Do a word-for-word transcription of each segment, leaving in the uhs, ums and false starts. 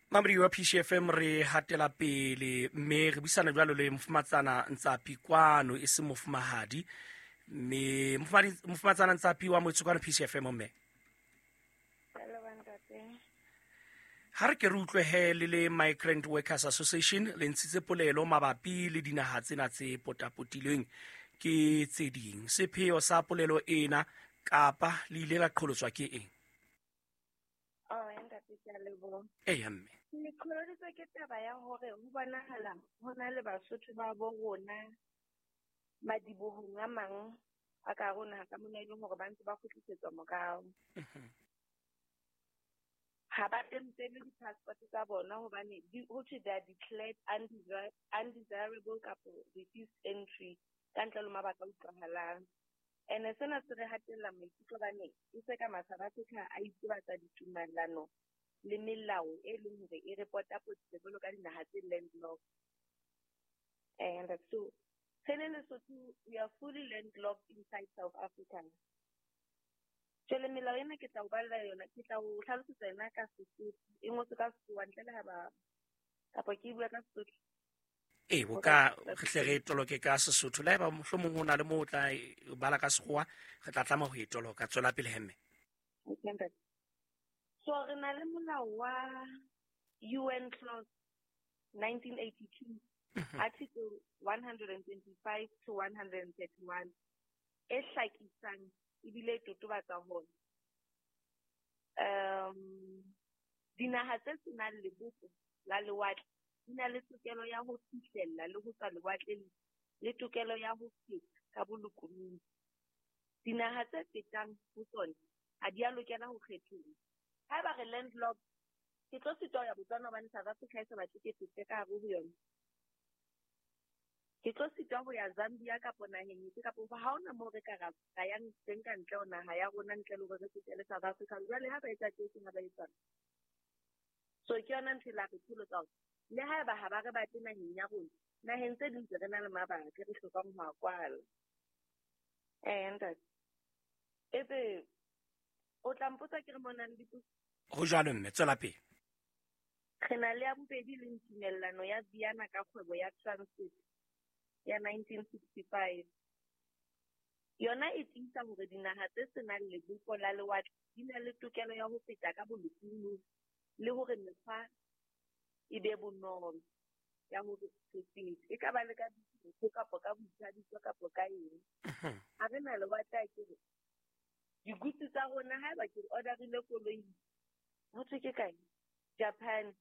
Mamedi wa P C F M re hatela pele mme re buisana jwalo le mofumatsana Ntsapi kwano e se mofumahadi mme mofumatsana Ntsapi wa motse kwano P C F M mme. Ha re ke re utlwe he le le Migrant Workers Association le ntshitse polelo mabapi le dinaha tsena tse potapotilweng ke tse ding. Sepheo sa polelo ena kapa le ile la qholotswa ke eng? Oh, ntate ke a leboha. Eya mme. Le qholoditswe ke taba ya hore ho bonahala ho na le Basotho ba bo rona madibohong a mang a ka rona ka mona e leng hore ba ntse ba kgutlisetswa morao. Ha ba tempele di-passport tsa bona hobane ho thwe they are declared undesirable kapa refused entry ka ntle le mabaka a utlwahalang. Ene sena se re hatella maikutlo hobane e se ka South Africa a itsebatsa ditumellano le melao e leng hore e re potapotile jwalo ka dinaha tse landlocked. And so re le Lesotho, we are fully landlocked inside South Africa. Jwale melao ena ke tla o balla yona, ke tla o hlalosetsa yona ka Sesotho, e ngotswe ka Sekgowa ntle le ha ba kapa ke bua ka Sesotho. E bo ka re hle re toloke ka Sesotho le haeba mohlomong ho na le moo o tla bala ka Sekgowa re tla tlameha ho e toloka. Tswela pele hemme. Okay. So re na le molao wa U N Clause nineteen eighty-two, Article one hundred twenty-five to one hundred thirty-one e hlakisang ebile e totobatsa hore um dinaha tse senang lebopo la lewatle di na le tokelo ya ho fihlella le ho tswa lewatleng le tokelo ya ho feta ka bolokolohi. Dinaha tse fetang ho tsona ha di a lokela ho kgethollwa. Haeba re landlocked, ke tlo sitwa ho ya Botswana hobane South Africa e sa batle ke fete ka hare ho yona. Ke tlo sitwa ho ya Zambia kapa naheng efe kapa ha hona moo re ka ra yang teng ka ntle ho naha ya rona ntle le hore re fetele South Africa. Jwale ha ba etsa tje ha ba etsa. So ke yona ntho e la re qholotsa hore le haeba ha ba re batle naheng ya rona, naheng tse ding tse re na le mabaka re hlokang ho a kwala. Eh, ntate. Ebe o tla mpotsa ke re mona le dipotso. Ho jwalo mme, tswela pele. Re na le ya bobedi le tumellano ya Vienna ka kgwebo ya transit ya nineteen sixty-five. Yona e tiisa hore dinaha tse senang lebopo la lewatle di na le tokelo ya ho feta ka bolokolohi le hore mekgwa e be bonolo ya hore re fete. E ka ba le ka dithuto kapa ka boithabiso kapa ka eng. Ha re na lewatle a ke re digutsi tsa rona haeba ke orderile koloi ho thwe ke kae Japan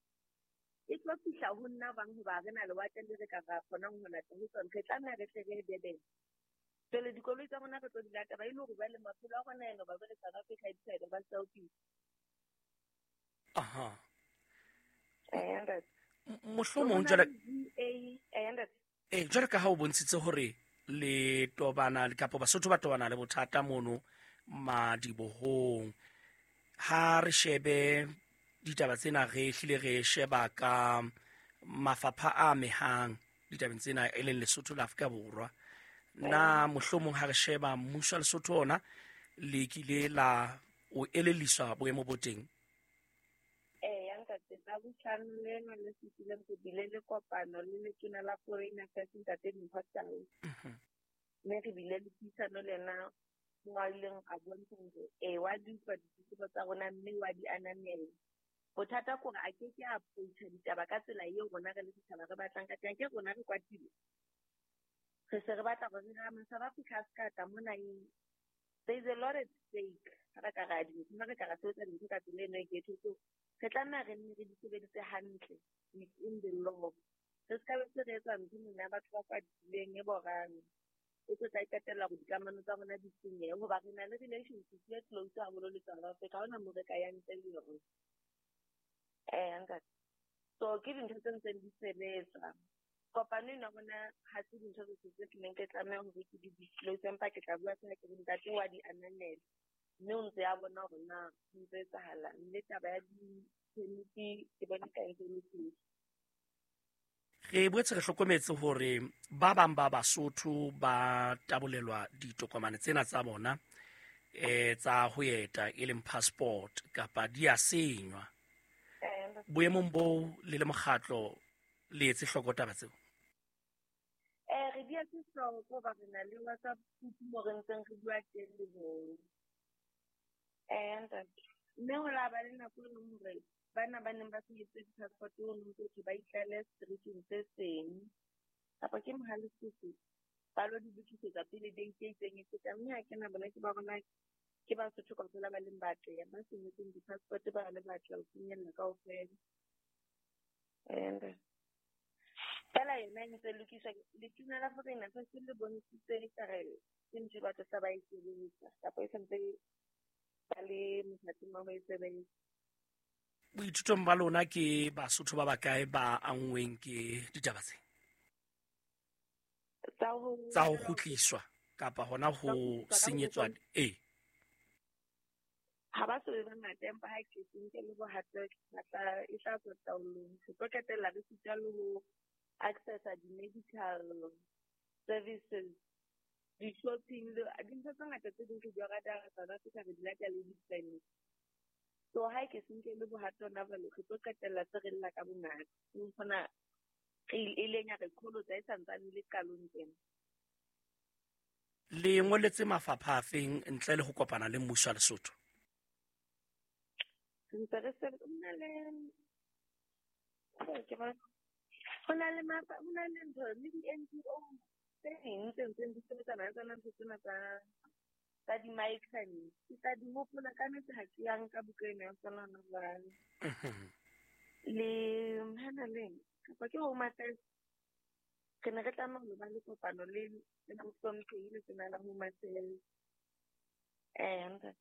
e tlo fihla ho nna bang hoba re na lewatle le re ka ra kgonang ho lata ho tsona, re tlameha re hle re ye Durban. Jwale dikoloi tsa rona re tlo di lata ba e le hore jwale maphelo a rona ena ba jwale South Africa e decide ba selfish. Aha. Eh, ntate. Mohlomong jwale eh, ntate. Eh, jwale ka ha o bontshitse hore le tobana kapa Basotho ba tobana le bothata mono madibohong, ha re shebe ditaba tsena re hlile re sheba ka mafapha a amehang ditabeng tsena e leng Lesotho le Afrika Borwa. Na mohlomong ha re sheba mmuso wa Lesotho ona le kile la o elelliswa boemo bo teng? Eh, ya ntate, tsa bohlano lena le fetileng re bile le kopano le letona la Foreign Affairs ntate Mpho Tau. Mme re bile le puisano le yena mo a ileng a bontsha hore ee wa di utlwa ditletlebo tsa rona mme wa di ananela. Bothata ke hore a ke ke a approach-a ditaba ka tsela eo rona re le setjhaba re batlang ka teng. Ke rona re kwatile, re se re batla hore re ma South Africa a se ka tla mona eng. There is a lot at stake ha re ka ra dintho, ha re ka ra sebetsa dintho ka tsela eno e ghetto. So re tlameha re nne re di sebedise hantle within the law. Re se ka be se re etsa ntho mona batho ba kwatileng e borang e tlo tla qetella hore dikamano tsa rona di senyehe hoba re na le relationship e close haholo le South Africa. Ha hona moo re ka yang ntle le yona. Eh, ntate. So ke dintho tse ntseng di sebetsa. Kopano ena rona ha se dintho tse tse ke neng ke tlameha hore ke di disclose, empa ke tla bua fela ke re ntate wa di ananela mme o ntse a bona hore na ho ntse etsahalang. Le taba ya di-permit ke bona ka ntse e le teng. Re boetse re hlokometse hore ba bang ba Basotho ba tabolelwa ditokomane tsena tsa bona eh tsa ho eta e leng passport kapa di a senywa. Boemong bo le le mokgatlo le etse hloko taba tseo? Eh re di etse hloko ba re na le WhatsApp group mo re ntseng re bua teng le bona. Eh ntate, mme ho la ba le nako e leng hore bana ba neng ba senyeditse di-passport ho no ntso thwe ba itlale streeteng se seng kapa ke Mohale Sese ba lo di lokisetsa pele date e itseng e feta, mme ha ke na bona ke ba bona ke Basotho kaofela ba leng batle ba senyetseng di-passport ba le batle ho finyella kaofela. And fela yona e ntse lokiswa. Letona la Foreign Affairs le bontshitse ekare ke ntho e batho tla ba e sebetsa kapa e santse ba le mothating wa ho e sebetsa. Boithutong ba lona ke Basotho ba bakae ba anngweng ke ditaba tse? Tsa ho Tsa ho kgutliswa kapa hona ho Tsa ho kgutliswa ka senyetswa? boholo. Ee. Ha ba so be bangata, empa ha ke se nke le bohato ba tla e tla tswa taolong. Re tlo qetella re sita le ho accessa di-medical services, di-shopping le dintho tse ngata tse ding re di rata South Africa re di lata le di-clinic. So ha ke se nke le bohato hona jwale re tlo qetella se re lla ka bongata. E kgona re e leng ya re qholotsa e santsane le qalong tjena. Le ngoletse mafapha a feng ntle le ho kopana le mmuso wa Lesotho? Re ntse re se ho na le ke ba ho na le mafa ho na le ntho le di-N G O tse ding tse ntseng di sebetsana le tsona ntho tsena tsa tsa di-migrant. Ke tla di hopola ka nnete ha ke ya nka buka ena ya tsona hona jwale. Mhm. Le hana le kapa ke Home Affairs, re ne re tlameha ho ba le kopano le le mohlomphehi letona la Home Affairs. Eh, ntate.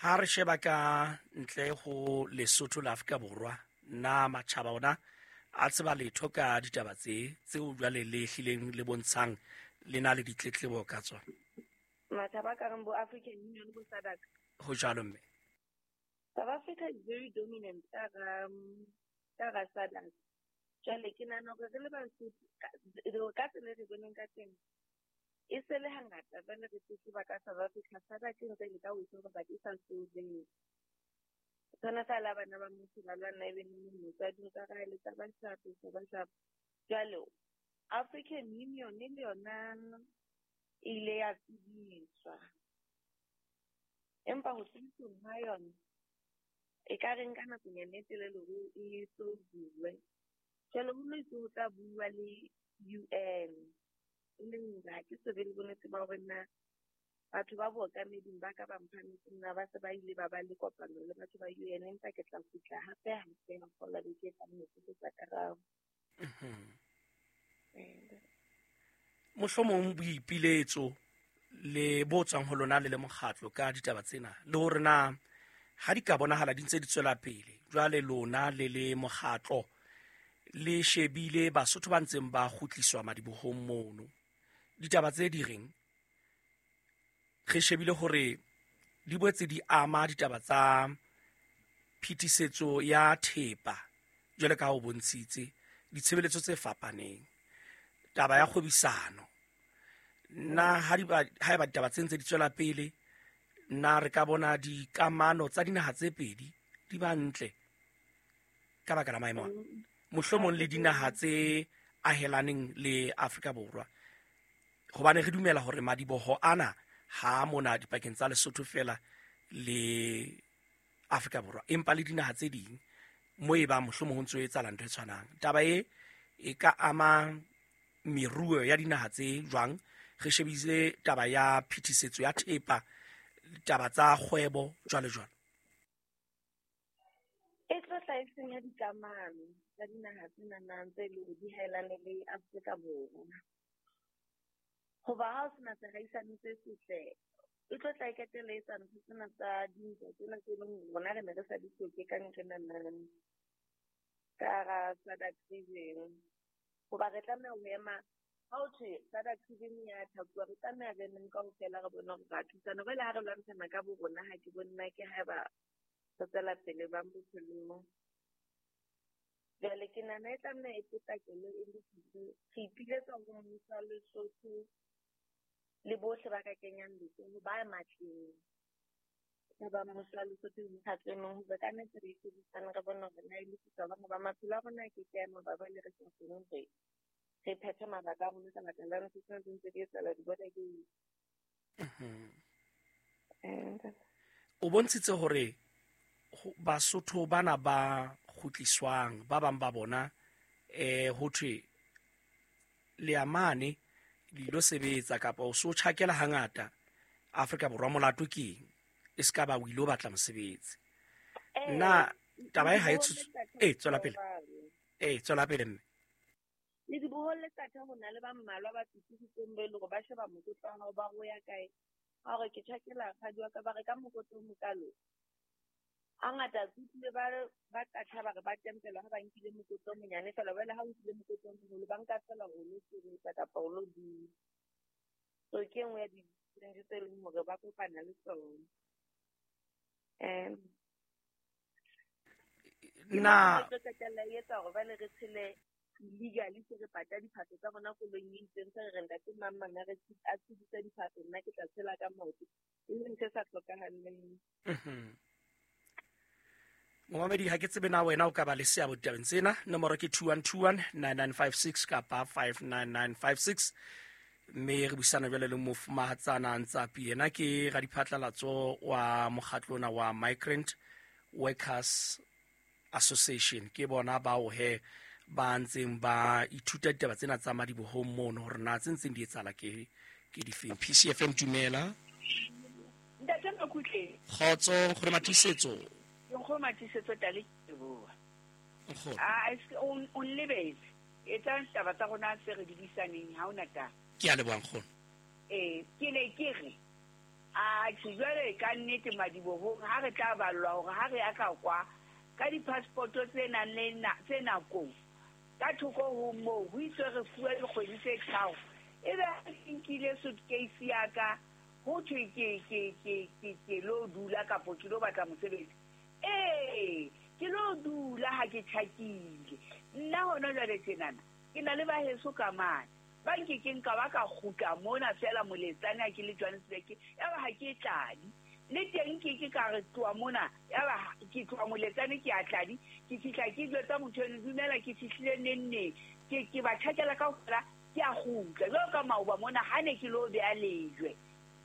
Ha re sheba ka ntle ho Lesotho le Afrika Borwa, na matjhaba ona a tseba letho ka ditaba tse tseo jwale le hlileng le bontshang le na le ditletlebo ka tsona? Matjhaba a kareng bo African Union bo SADC. Ho jwalo mme. South Africa is very dominant ka hara, ka hara SADC. Jwale ke nahana hore re le Basotho, ka, ka tsela e re boneng ka teng, e se le hangata jwale re tletleba ka South Africa. SADC e ntse e leka ho e solva but e sa solvehe. Tshwana fela la bana ba motho ba lwana ebe neng motswadi o tsa re le tsa ba shapo, tsa ba shapo. Jwale African Union le yona e ile ya tsebiswa, empa ho tsebisweng ha yona e ka re nka nakonyana e telele hore e solvuwe. Jwale ho no itse ho tla bua le U N, e leng hore ha ke so be le bonnete ba hore na batho ba bookameding ba ka ba mphametseng na ba se ba ile ba ba le kopano le batho ba U N, empa ke tla kgutla hape hape ha kgola beke e tlang ho tlisetsa karabo. Mhm. Eh. Mohlomong boipiletso le bo tswang ho lona le le mokgatlo ka ditaba tsena, le hore na ha di ka bonahala di ntse di tswela pele, jwale lona le le mokgatlo le shebile Basotho ba ntseng ba kgutliswa madibohong mono, ditaba tse di reng re shebile hore di boetse di ama ditaba tsa phetisetso ya thepa jwale ka ha o bontshitse ditshebeletso tse fapaneng, taba ya kgwebisano. Na ha di ba, ha eba ditaba tse ntse di tswela pele, na re ka bona dikamano tsa dinaha tse pedi di ba ntle ka baka la maemo a? Mohlomong le dinaha tse ahelaneng le Afrika Borwa, hobane re dumela hore madiboho ana ha mona dipakeng tsa Lesotho fela le Afrika Borwa, empa le dinaha tse ding mo e bang mohlomong ho ntso etsahala ntho e tshwanang. Taba e e ka ama meruo ya dinaha tse jwang? Re shebile taba ya phetisetso ya thepa, taba tsa kgwebo jwalo jwalo. E tlo tla e senya dikamano tsa dinaha tse nang tse leng hore di haelane le Afrika Borwa. Hoba ha o sena tseraisano se setle, e tlo tla e qetella e etsa ntho tsena tsa dintwa tsena tse leng hore rona re ne re sa di hloke ka nqena ka hara SADC region. Hoba re tlameha ho ema ha ho thwe SADC region ya thapuwa, re tlameha re emeng kaofela re bone hore ra thusana. Jwale ha re lwantshana ka bo rona, ha ke bone na ke haeba re tswela pele bang bophelong. Jwale ke nahana e tlameha e potlakele e lokiswe. Re ipiletsa ho mmuso wa Lesotho le bohle ba ka kenyang letsoho ba matleng. Ka ba mmuso wa Lesotho le mekgatlo e meng hore ka nnete re itshebedisane re bone hore na e lokisa hobane ba maphelo a rona a ke ke a ema ba le re sa kgone hore re phethe mabaka a rona ka baka la ntho tsena tse ntse di etsahala di-border gate. O bontshitse hore Basotho bana ba kgutliswang ba bang ba bona eh ho thwe le amane le ilo sebetsa kapa o so tjhakela hangata Afrika Borwa molato ke eng e ska ba o ilo batla mosebetsi. Nna taba e ha e eh tswela pele eh tswela pele mme le dibohole tsa tha hona le ba mmalwa ba tsitsitseng be le hore ba sheba mokotla wa hao ba ho ya kae ha hore ke tjhakela kgadi wa ka ba re ka mokotla o mokalo. Hangata ke utlwile ba ba qatha ba re ba tempelwa ha ba nkile mokotla o monyane fela jwale ha o nkile mokotla o moholo ba nka fela hore o lo sebetsa kapa o lo dula. So ke e nngwe ya di-challenge tse leng hore ba kopana le tsona. Um Na tlo qetella e etsa hore jwale re tshele illegally se re pata diphahlo tsa rona koloing e itseng se re re ntate mang mang a re a tshedisa diphahlo nna ke tla tshela ka maoto e leng ntho e sa hlokahaleng. Momamedi ha ke tsebe na wena o ka ba le seabo ditabeng tsena. Nomoro ke two one two one nine nine five six kapa five nine nine five six. Mme re buisana jwale le mofumahatsana Ntsapi, yena ke radiphatlalatso wa mokgatlo ona wa Migrant Workers Association. Ke bona bao he ba ntseng ba ithuta ditaba tsena tsa madibohong mono hore na tse ntseng di etsahala ke ke difeng. P C F M dumela. Ntate Makutle. Kgotso nkgono Matiisetso. Nkgono Matiisetso tale ke bua. Nkgono. Ah o o nlebetse. Etsa taba tsa rona tse re di buisaneng ha ona taba. Ke a leboha nkgono. Eh ke ne ke re a tjhe jwale ka nnete madibohong ha re tla ballwa hore ha re ya ka kwa ka di-passport tse nang le tse nakong ka thoko ho moo ho itswe re fuwe dikgwedi tse tharo ebe ha ke nkile suitcase ya ka ho thwe ke ke ke ke ke lo dula kapo ke lo batla mosebetsi. Ee ke lo dula ha ke tjhakile nna hona jwale tjenana ke na le baheso ka mane ba nkekeng ka ba ka kgutla mona fela moletsane ha ke le Johannesburg yaba ha ke tladi le teng ke ke ka re tloha mona yaba ke tloha moletsane ke a tladi ke fihla ke jwetsa motho eno dumela ke fihlile neng neng ke ke ba tjhakela kaofela ke a kgutla jwalo ka maoba mona ha ne ke lo beha lejwe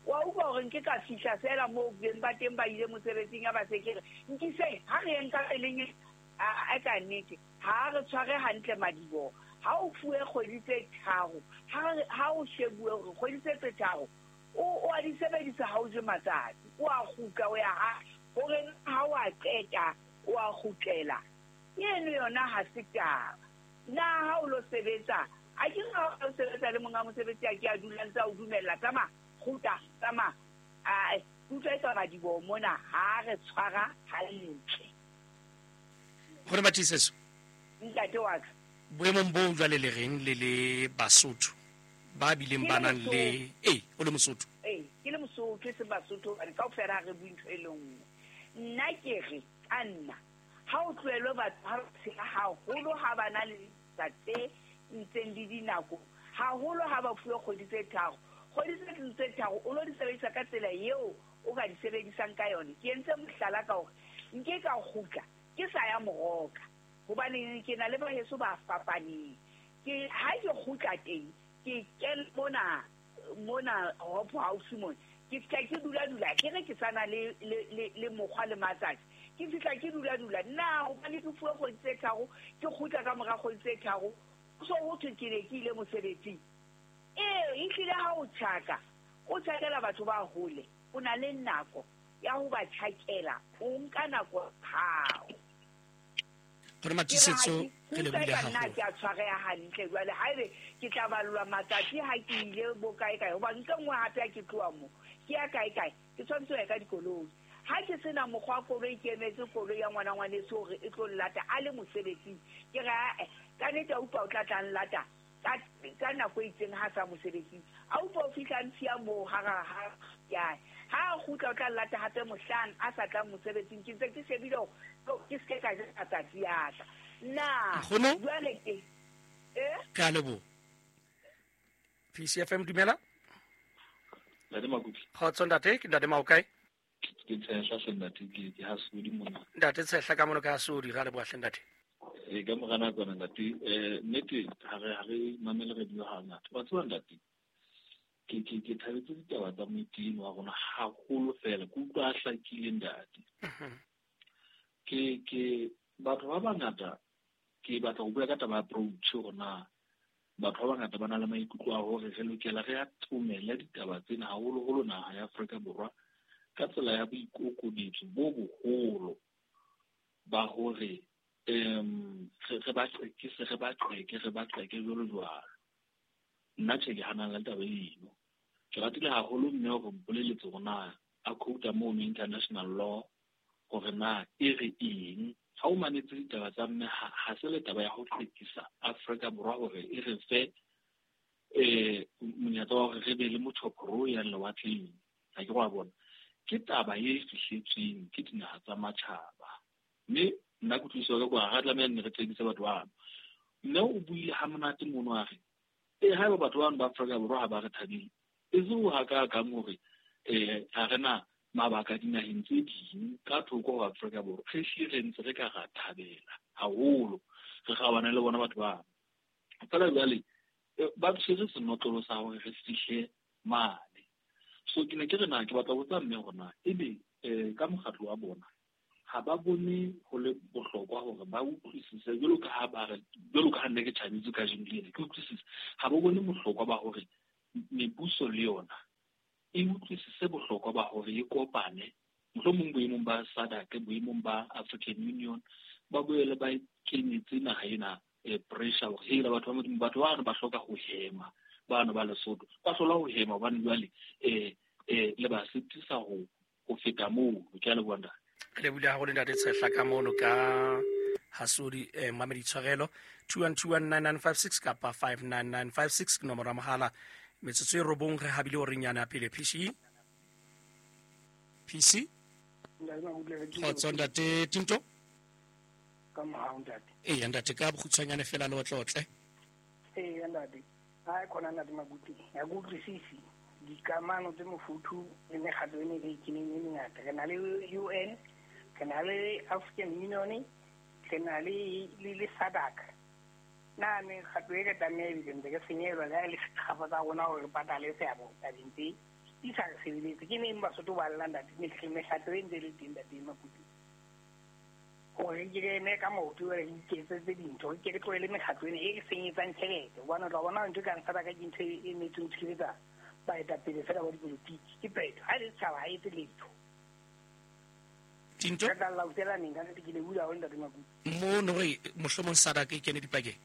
wa utlwa hore nke ka fihla fela moo beng ba teng ba ile mosebetsing ya ba se ke re nkiseng ha re yeng ka peleng a ka nnete ha re tshware hantle madiboho. Ha o fuwe kgwedi tse tharo ha o shebuwe hore kgwedi tse tse tharo o o a di sebedisa ha o je matsatsi o a kgutla o ya ha hore ha o a qeta o a kgutlela eno yona ha se taba. Na ha o lo sebetsa a ke ha o sebetsa le monga mosebetsi a ke a dulang tsa o dumella tsamaya kgutla tsamaya a utlwa e ka madiboho mona ha re tshwara hantle. Nkgono Matiisetso. Ntate wa ka. Boemong bo jwale le reng le le Basotho ba bileng ba nang le eh o le Mosotho eh ke le Mosotho se Basotho ba kaofela ha re bue ntho e le nngwe. Nna ke re ka nna ha o tlohellwe batho ha ba tshela haholo ha ba na le tsa tse ntseng le dinako haholo ha ba fuwe kgwedi tse tharo kgwedi tse tse tharo o lo di sebedisa ka tsela eo o ka di sebedisang ka yone. Ke entse mohlala ka hore nke ka kgutla ke sa ya moroka hobane ke na le baheso ba fapaneng ke ha ke kgutla teng ke kena mona mona Hope House mona ke fihla ke dula dula ke re ke sana le le le mokgwa le matsatsi ke fihla ke dula dula nna hobane ke fuwe kgwedi tse tharo ke kgutla ka mora kgwedi tse tharo so ho thwe ke ne ke ile mosebetsing. Ee ehlile ha o tjhaka o tjhakela batho ba hole o na le nako ya ho ba tjhakela o nka nako hao. Nkgono Matiisetso re lebohile haholo. Ke a tshwareha hantle jwale haebe ke tla ballwa matsatsi ha ke ile bo kae kae hobane ntho e nngwe hape ha ke tloha mo ke ya kae kae ke tshwanetse ho ya ka dikoloi. Ha ke sena mokgwa wa koloi ke emetse koloi ya ngwana ngwaneso hore e tlo nlata a le mosebetsing ke re ae ka nnete a utlwa o tla tla nlata ka ka nako e itseng ha sa mosebetsing a utlwa o fihla ntshiya moo ha ha ya ha a kgutla o tla nlata hape mohlang a sa tlang mosebetsing ke ntse ke shebile hore ke se ka ja matsatsi a ka na jwale ke eh ke a leboha. P C F M dumela. Ntate Makutle. Kgotso ntate, ke ntate Maokae. Ke Tshehla hle ntate, ke ke Hasodi mona. Ntate Tshehla ka mono ka Hasodi, ra leboha hle ntate. E ka mora nakwana ntate, eh nnete ha re ha re mamele radio hangata. Wa tseba ntate, ke ke ke thabetse ditaba tsa moetino wa rona haholo fela, ke utlwa a hlakile ntate. Ke ke batho ba bangata ke batla ho bua ka taba ya approach hore na batho ba bangata ba na le maikutlo a hore re lokela re atomele ditaba tsena haholoholo naha ya Afrika Borwa ka tsela ya boikokobetso bo boholo ba hore um re ba qekise re ba qeke re ba qeke jwalo jwalo. Nna tjhe ke hanang le taba eno. Ke ratile haholo mme hore mpoleletse hore na a quote mono international law hore na e re eng. Ha o mametse ditaba tsa mme ha se le taba ya ho qekisa Afrika Borwa hore e re fe eh monyetla wa hore re be le motjhoporo o yang lewatleng. Ha ke wa bona. Ke taba e fihletsweng ke dinaha tsa matjhaba. Mme nna kutlwisiso ya ka ha tlameha nne re qekise batho bano. Mme o buile ha monate mono a re e haeba batho bano ba Afrika Borwa ha ba re thabile, e se ho hakakang hore eh ha re na mabaka dinaheng tse ding ka thoko ho Afrika Borwa, re hlile re ntse re ka ra thabela haholo, re kgaobane le bona batho bano. Feela jwale ba tshwere senotlolo sa hore re fihle mane. So ke ne ke re na ke batla ho botsa mme hore na ebe eh ka mokgatlo wa bona ha ba bone ho le bohlokwa hore ba utlwisise jwalo ka ha ba re jwalo ka ha nne ke tjhabetse kajeno lena ke utlwisise, ha ba bone bohlokwa ba hore mebuso le yona e utlwisise bohlokwa ba hore e kopane mohlomong boemong ba SADC, boemong ba African Union, ba boele ba kenyetse naha ena pressure hore hela batho ba Modimo batho bano ba hloka ho hema, bano ba Lesotho ba hlola ho hema hobane jwale eh eh le ba sitisa ho ho feta moo. Ke a leboha ntate. Re lebohile haholo ntate Tshehla ka mono ka Hasodi. Eh mamedi tshwarelo two one two one nine nine five six kapa five nine nine five six ke nomoro ya mohala. Metsotso e robong re habile hore nyana pele P C P C Kgotso ntate Tinto ka mohau ntate. Ee ntate ka bokgutshwanyane fela le otlotle. Ee ntate, ha khona ntate Makuti ya ke utlwisisi dikamano tse mofuthu le mekgatlo e ne e keneng e mengata. Re na le U N, re na le African Union, re na le le SADC. Na mekgatlo e re tlameha ebile ntse re senyelwa le ha e le setjhaba tsa rona hore re patale seabo tabeng tse di sa re sebeletse. Ke neng Basotho ba lla ntate, mekgatlo e ntse e le teng ntate Makuti hore ke re eme ka maoto re iketsetse dintho, ke re tlohele mekgatlo ena e re senyetsang tjhelete. Hobane o tla bona ntho e kang SADC ke ntho e emetseng ho tshireletsa baetapele fela ba dipolotiki. Ke phetho, ha e le setjhaba ha etse letho. Tinto re tla lautela neng ka nnete? Ke lebohile haholo ntate Makuti. Mono re mohlomong SADC e kene dipakeng.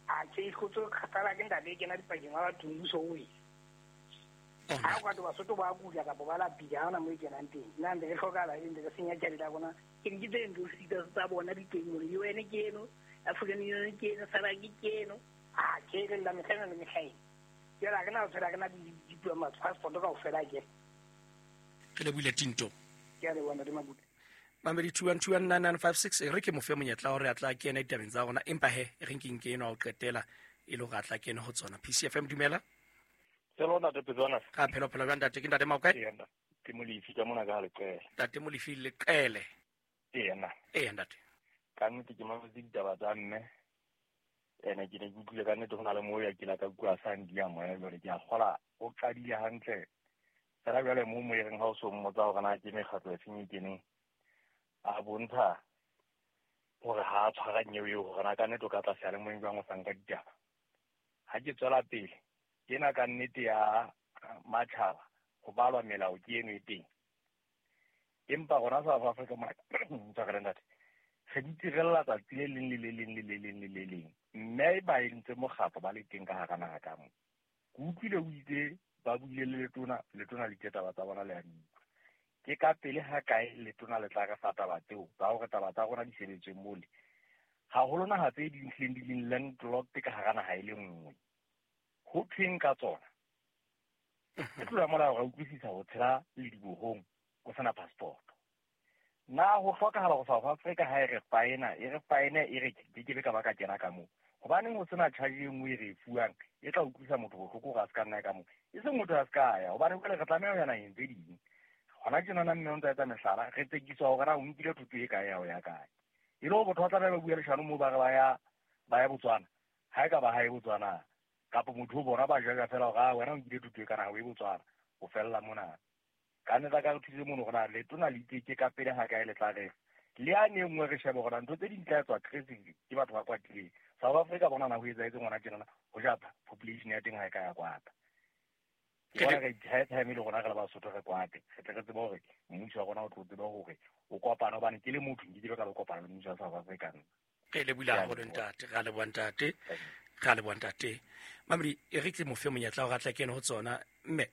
A tjhe, kgotso kgathala ke ntate e kena dipakeng wa batho mmuso o wele. Ha o ka to Basotho ba kula kapa ba lapile, ha hona moo e kenang teng. Nna ntse re hlokahala e ntse re senya tjhelete ya rona. Ke ke tse ntho sita tsa bona di teng hore U N ke eno, African Union ke eno, SADC ke eno. A tjhe, re lla mehla ena le mehla ena. Jwale ha re na ho tshwela, re na di passport kaofela ke. Re lebohile Tinto. Ke a leboha ntate Makuti. Mamedi two one two one nine nine five six e re ke mo fe monyetla hore a tla kena ditabeng tsa rona, empa he re nkeng ke eno a o qetela e le hore a tla kene ho tsona. P C F M dumela. Hello ntate Petswana. Ka phelo phelo jwang ntate? Ke ntate Maokae? Ee ntate. Ke Molefi ka mona ka Leqele. Ntate Molefi Leqele. Ee nna. Ee ntate. Ka nnete ke mametse ditaba tsa mme. Ene ke ne ke utlwile ka nnete ho na le moo ya ke la ka bua sa ndia moya jwale ke a kgola o qadile hantle. Fela jwale moo mo e reng ha o so mmotsa hore na ke mekgatlo e feng e keneng, a bontsha hore ha a tshwara nyewe eo hore na ka nnete o ka tla seyalemoyeng jwang o sa nka ditaba. Ha ke tswela pele ena ka nnete ya matjhaba ho balwa melao ke eno e teng. Empa rona South Africa mona tshwarela ntate, re di tirella tsatsi le leng le le leng le le leng le le leng. Mme ba entse mokgatlo ba le teng ka hara naha ka moo. Ke utlwile o itse ba buile le letona, letona le itse taba tsa bona le a di utlwa. Ke ka pele ha kae letona le tla re fa taba tseo tsa hore taba tsa rona di sebetswe mole. Haholo naha tse ding hlileng di leng landlocked ka hara naha e le nngwe. Ho thweng ka tsona? Ke tlola molao ra utlwisisa ho tshela ledibohong o sena passport. Na ho hlokahala ho South Africa ha e re faena, e re faene e re ke ke be ka ba ka kena ka moo. Hobaneng ho sena charge e nngwe e re e fuwang e tla utlwisa motho bohloko hore a se ka nna ka moo. E seng motho a se ka ya, hobane jwale re tlameha ho ya naheng tse ding. Hona tjenana mme o ntsa etsa mehlala, re tsekiswa hore na o nkile thoto e kae ya ho ya kae. E le hore botho ba tlameha ba bua leshano moo ba re ba ya ba ya Botswana. Ha e ka ba ha e Botswana. Kapa motho o bona ba judge fela hore ah wena o nkile thoto e kana ha o e Botswana. O fella mona. Ka nnete ka re thuse mono hore na letona le iteke ka pele ha kae le tla re. Le a ne nngwe re shebe hore ntho tse ding tla etswa aggressive ke batho ba kwatileng. South Africa bona na ho etsahetse ngwana tjenana ho ja population ya teng ha e ka ya kwata. Ke bona re high time le rona re le Basotho re kwate. Re tle re tsebe hore mmuso wa rona o tlo tsebe hore o kopana hobane ke le motho nke ke ka lo kopana le mmuso wa South Africa nna. Re lebohile haholo ntate, re a leboha ntate, re a leboha ntate. Mamedi, e re ke mo fe monyetla hore a tle kene ho tsona. Mme.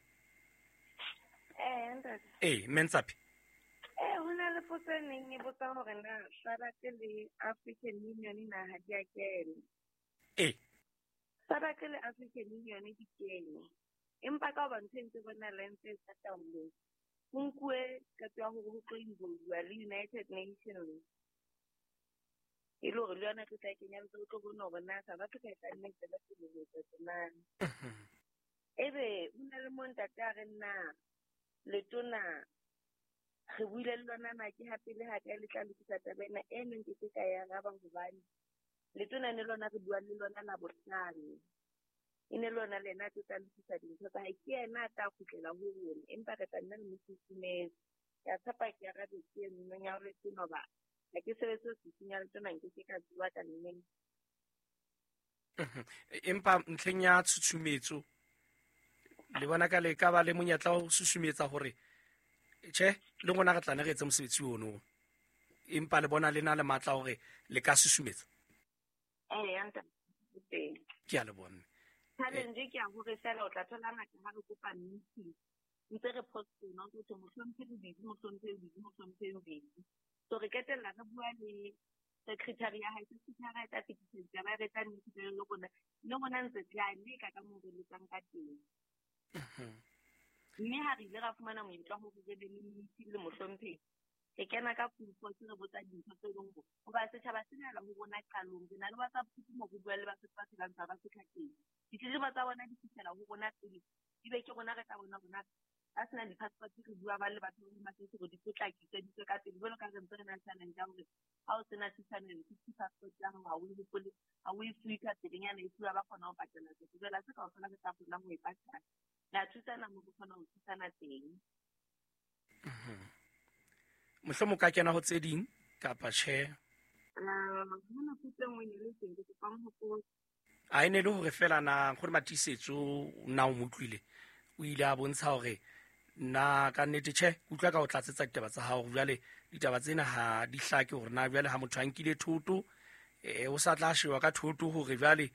Eh, ntate. Eh, mme Ntsapi. Eh, ho na le potso e neng e botsa hore na SADC le African Union na ha di a kena. Eh. SADC le African Union di kene. Empa ka hoba ntho e ntse bona le ntse e sa taolong, ho nkuwe qeto ya hore ho tlo involve-wa le United Nations. E le hore le yona e tlo tla kenya letsoho, o tlo bona hore na South Africa e tla nna e tswela pele ho etsa tjena. Ebe ho na le moo ntate a reng na letona re buile le lona na ke ha pele ha kae le tla lokisa taba ena, e neng ke se ka e araba hobane letona ne lona re bua le lona Labohlano. E ne lona le yena a tlo tla lokisa dintho tsa hae, ke yena a tla kgutlela ho rona, empa re tla nna le mo susumetse. Ke a tshepa ke arabetse e nngwe ya hore ke no ba ha ke sebetse ofising ya letona, nke ke ka bua ka nnete. Empa ntlheng ya tshutshumetso le bona ka le ka ba le monyetla wa ho susumetsa hore tjhe le rona re tla ne re etse mosebetsi ono, empa le bona le na le matla hore le ka susumetsa. Eh, ya ntate, teng. Ke a leboha mme. Challenge ke ya hore fela o tla thola ngata ha re kopa meeting, ntse re postpone, o tlo mohlomphehi o busy, mohlomphehi o busy, mohlomphehi o busy. So re qetella re bua le secretary ya hae, secretary ya hae tla fetisa ditaba, re tla meeting le rona, le rona ntse re a leka ka moo re lekang ka teng. Mme ha re ile ra fumana monyetla wa hore re be le meeting le mohlomphehi, re kena ka full force re botsa dintho tse leng hore hoba setjhaba se nela ho rona qalong, re na le WhatsApp group moo re bua le Basotho ba phelang South Africa teng. Ditletlebo tsa bona di fihlela ho rona pele, ebe ke rona re tla bona rona ba sena di-passport, re bua ba le batho ba Home hore di potlakiswe di tswe ka pele. Jwalo ka re ntse re na le challenge ya hore ha o sena six hundred and fifty passport ya hao, ha o e hopole, ha o e fuwe ka pelenyana, e fuwa ba kgona ho patala tsatsi. Jwale ha se kaofela re tla kgona ho e patala. Re a thusana moo re kgona ho thusana teng. Mohlomong ka kena ho tse ding kapa tjhe? Ah, hona potso e nngwe e ne le teng, ke kopang ho potsa. A e ne le hore fela na nkgono Matiisetso na o mo utlwile, o ile a bontsha hore nna ka nnete tjhe, ke utlwa ka ho tlatsetsa ditaba tsa hao. Jwale ditaba tsena ha di hlake hore na jwale ha motho a nkile thoto, eh, o sa tla shewa ka thoto hore jwale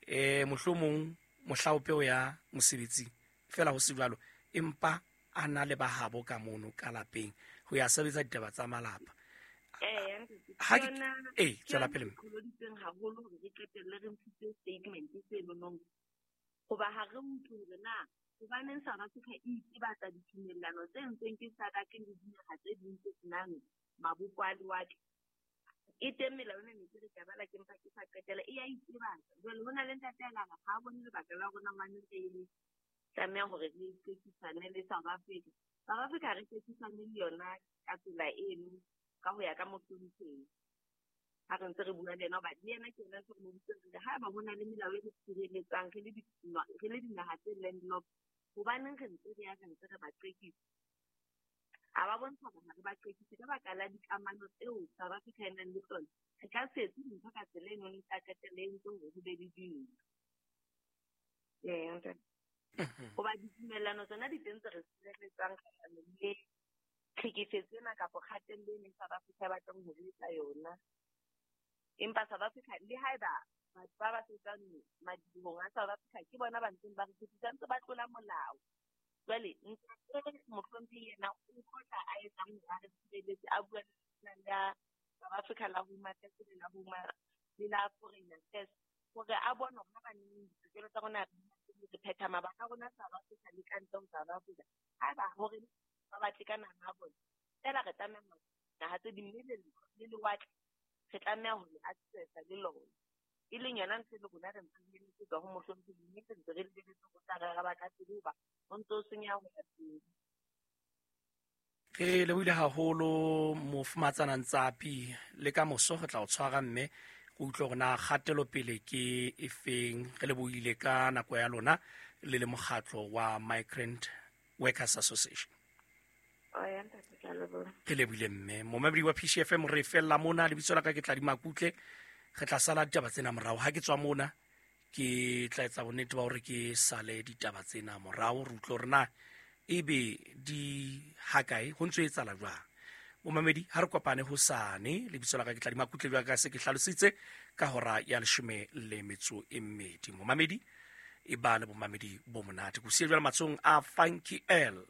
eh, mohlomong mohlaope o ya mosebetsing fela ho se jwalo, empa a na le bahabo ka mono ka lapeng ho ya sebetsa ditaba tsa malapa. Eh, ntate, Ha ke ke yona eh, ke tswela yona pele e mme. qholoditseng haholo hore re qetelle re ntshitse statement seno. Hoba ha re utlwe hore na hobaneng South Africa e itebatsa ditumellano tse entsweng ke SADC le dinaha tse ding tse senang mabopo a lewatle. E teng melao ena ne ke re ke a bala ke mpa ke sa qetela, e ya itebatsa. Jwale ho na le ntate a lara ha a bone lebaka la rona hobane re tlameha hore re qekisane le South Africa. South Africa ha re qekisane le yona ka tsela eno ka ho ya ka mohlomphehi. Ha re ntse re bua le yena hoba le yena ke yena se re mo bitsang re haeba ho na le melao e re tshireletsang re le di-, re le dinaha tse landlocked, hobaneng re ntse re ya re ntse re ba qekisa? A ba bontsha hore ha re ba qekise ka baka la dikamano tseo South Africa e nang le tsona. Re ka se etse dintho ka tsela eno e tla qetella e entse hore ho be le dintwa. Ee, ntate. Hoba ditumellano tsona di teng tse re sireletsang kgahlanong le tlhekefetso ena kapa kgatello ena e South Africa e batlang ho re etsa yona. Empa South Africa le haeba batho ba ba sebetsang madibohong a South Africa ke bona ba ntseng ba re tshepisang, ntse ba tlola molao. Jwale ntate mohlomphehi yena o tlotla a etsang hore a re tshireletse, a bua le la South Africa la Home Affairs le la Home le la Foreign Affairs hore a bone hore ha ba neng ditokelo tsa rona re phetha mabaka a rona South Africa le ka ntle ho South Africa. Haeba hore ba batle ka naha ya bona, fela re tlameha hore naha tse ding mme le lewatle re tlameha ho le accessa le lona. E leng yona ntho e le rona re ntse re lebeletse tswa ho mohlomphehi, mme re ntse re lebeletse ho tla re araba ka pele hoba ho ntso senyeha ho ya pele. Re lebohile haholo mofumatsana Ntsapi, le ka moso re tla o tshwara mme go utlwe hore na kgatelopele ke efeng. Re lebohile ka nako ya lona le le mokgatlo wa Migrant Workers Association. Re lebohile mme. Momamedi wa P C F M, re fella mona, lebitso la ka ke Tladi Makutle. Re tla sala ditaba tsena morao. Ha ke tswa mona ke tla etsa bonnete ba hore ke sale ditaba tsena morao, re utlwe hore na ebe di hakae, ho ntso etsahala jwang. Momamedi, ha re kopane hosane, lebitso la ka ke Tladi Makutle, jwalo ka se ke hlalositse ka hora ya leshome le metso e mmedi. Momamedi, e ba le bomamedi bo monate. Ke o siya jwale matsohong a Funky L.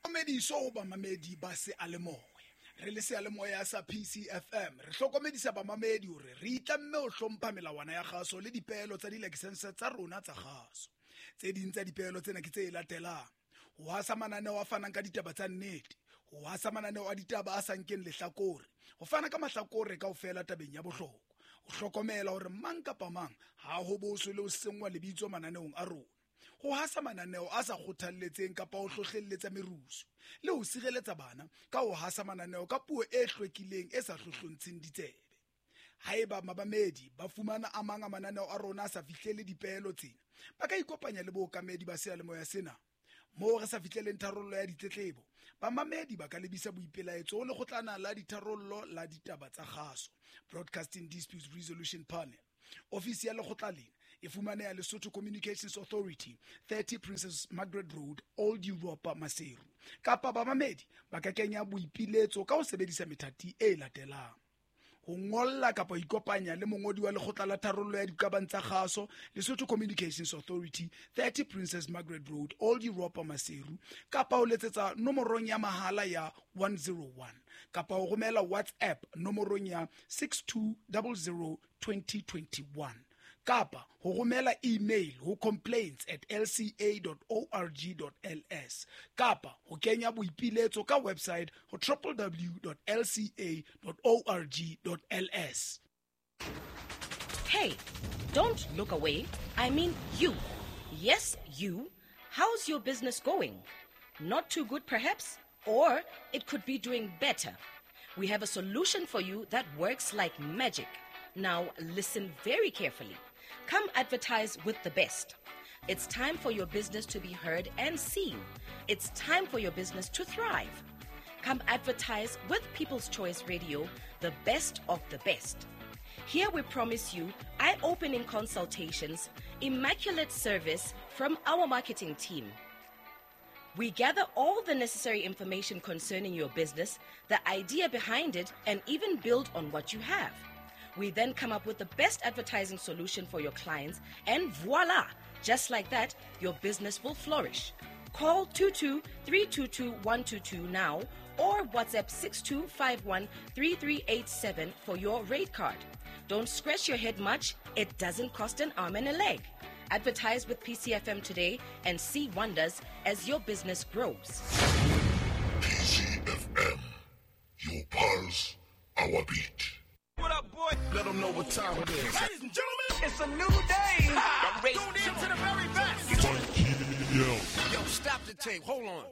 Mamediso ho bamamedi ba seyalemoya. Re le seyalemoya sa P C F M, re hlokomedisa bamamedi hore re itlamme ho hlompha melawana ya kgaso le dipeelo tsa dilakesense tsa rona tsa kgaso. Tse ding tsa dipeelo tsena ke tse latelang: ho hasa mananeo a fanang ka ditaba tsa nnete, ho hasa mananeo a ditaba a sa nkeng lehlakore, ho fana ka mahlakore kaofela tabeng ya bohlokwa, ho hlokomela hore mang kapa mang ha ho boswe le ho senngwa lebitso mananeong a rona, ho hasa mananeo a sa kgothalletseng kapa ho hlohlelletsa merusu, le ho sireletsa bana ka ho hasa mananeo ka puo e hlwekileng e sa hlohlontsheng ditsebe. Haeba mabamedi ba fumana a mang a mananeo a rona a sa fihlele dipeelo tsena, ba ka ikopanya le bookamedi ba seyalemoya sena. Moo re sa fihleleng tharollo ya ditletlebo, bamamedi ba ka lebisa boipelaetso ho lekgotlana la ditharollo la ditaba tsa kgaso, Broadcasting Disputes Resolution Panel. Ofisi ya lekgotla lena e fumaneha Lesotho Communications Authority, thirty Princess Margaret Road, Old Europa, Maseru. Kapa bamamedi ba ka kenya boipiletso ka ho sebedisa methati e latelang: ho ngolla kapa ho ikopanya le mongodi wa lekgotla la tharollo ya diqabang tsa kgaso, Lesotho Communications Authority, thirty Princess Margaret Road, Old Europa, Maseru, kapa ho letsetsa nomorong ya mahala ya one zero one, kapa ho romela WhatsApp nomorong ya six two zero zero twenty twenty-one, kapa ho romela email ho complaints at l c a dot org dot l s, kapa ho kenya boipiletso ka website ho w w w dot l c a dot org dot l s. Hey, don't look away. I mean you. Yes, you. How's your business going? Not too good, perhaps? Or it could be doing better. We have a solution for you that works like magic. Now, listen very carefully. Come advertise with the best. It's time for your business to be heard and seen. It's time for your business to thrive. Come advertise with People's Choice Radio, the best of the best. Here we promise you eye-opening consultations, immaculate service from our marketing team. We gather all the necessary information concerning your business, the idea behind it, and even build on what you have. We then come up with the best advertising solution for your clients, and voila! Just like that, your business will flourish. Call two two three two two one two two now or WhatsApp six two five one three three eight seven for your rate card. Don't scratch your head much. It doesn't cost an arm and a leg. Advertise with P C F M today and see wonders as your business grows. P C F M, your pulse, our beat. What up, boy? Let them know what time it is. Ladies and gentlemen, it's a new day. I'm tuned in to the very best. Yo. Yo, stop the tape. Hold on.